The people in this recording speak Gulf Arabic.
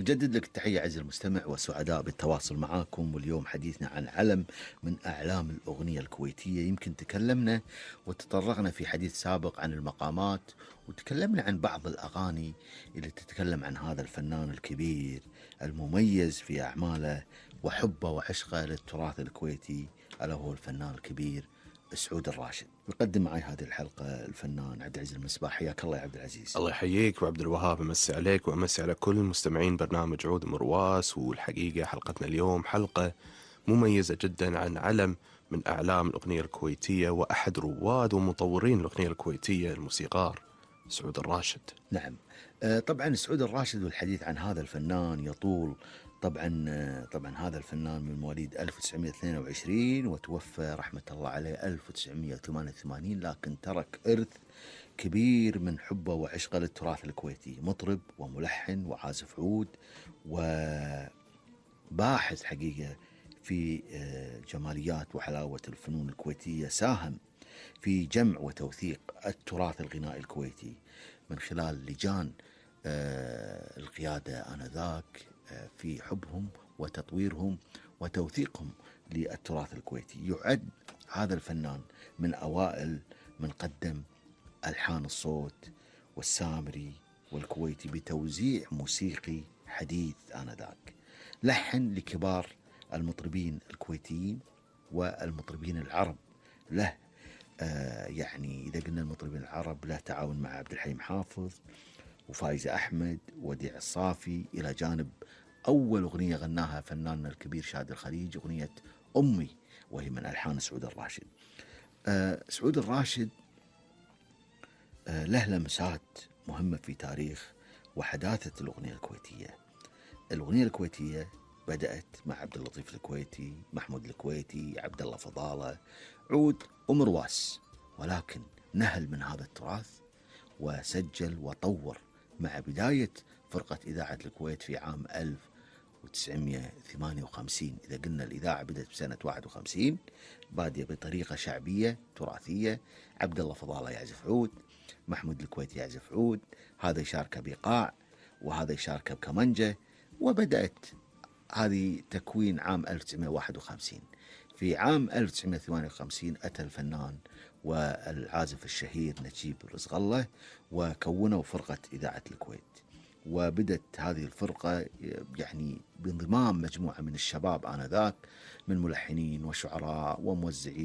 نجدد لك التحية عزيزي المستمع، والسعداء بالتواصل معاكم. واليوم حديثنا عن علم من أعلام الأغنية الكويتية. يمكن تكلمنا وتطرقنا في حديث سابق عن المقامات، وتكلمنا عن بعض الأغاني اللي تتكلم عن هذا الفنان الكبير المميز في أعماله وحبه وعشقه للتراث الكويتي، ألا هو الفنان الكبير سعود الراشد. يقدم معي هذه الحلقة الفنان عبد العزيز المصباح. حياك الله يا عبد العزيز. الله يحييك وعبد الوهاب، أمسي عليك وأمسي على كل مستمعين برنامج عود مرواس. والحقيقة حلقتنا اليوم حلقة مميزة جدا عن علم من أعلام الأغنية الكويتية وأحد رواد ومطورين الأغنية الكويتية، الموسيقار سعود الراشد. نعم، طبعا سعود الراشد، والحديث عن هذا الفنان يطول. طبعا هذا الفنان من مواليد 1922 وتوفى رحمة الله عليه 1988، لكن ترك إرث كبير من حبه وعشقه للتراث الكويتي. مطرب وملحن وعازف عود وباحث حقيقة في جماليات وحلاوة الفنون الكويتية. ساهم في جمع وتوثيق التراث الغنائي الكويتي من خلال لجان القيادة آنذاك في حبهم وتطويرهم وتوثيقهم للتراث الكويتي. يعد هذا الفنان من أوائل من قدم ألحان الصوت والسامري والكويتي بتوزيع موسيقي حديث آنذاك. لحن لكبار المطربين الكويتيين والمطربين العرب. له يعني إذا قلنا المطربين العرب، له تعاون مع عبد الحليم حافظ وفايزة أحمد وديع الصافي، إلى جانب أول أغنية غناها فناننا الكبير شاد الخليج، أغنية أمي، وهي من ألحان سعود الراشد. سعود الراشد له لمسات مهمة في تاريخ وحداثة الأغنية الكويتية. الأغنية الكويتية بدأت مع عبد اللطيف الكويتي، محمود الكويتي، عبد الله فضالة، عود ومرواس، ولكن نهل من هذا التراث وسجل وطور مع بداية فرقة إذاعة الكويت في عام 1958. إذا قلنا الإذاعة بدأت بسنة 51، بادية بطريقة شعبية تراثية. عبد الله فضالة يعزف عود، محمود الكويتي يعزف عود، هذا يشارك بإيقاع وهذا يشارك بكمنجة، وبدأت هذه تكوين عام 1951. في عام 1958 أتى الفنان والعازف الشهير نجيب الرزغلة وكونوا فرقة إذاعة الكويت. وبدت هذه الفرقة يعني بانضمام مجموعة من الشباب آنذاك من ملحنين وشعراء وموزعين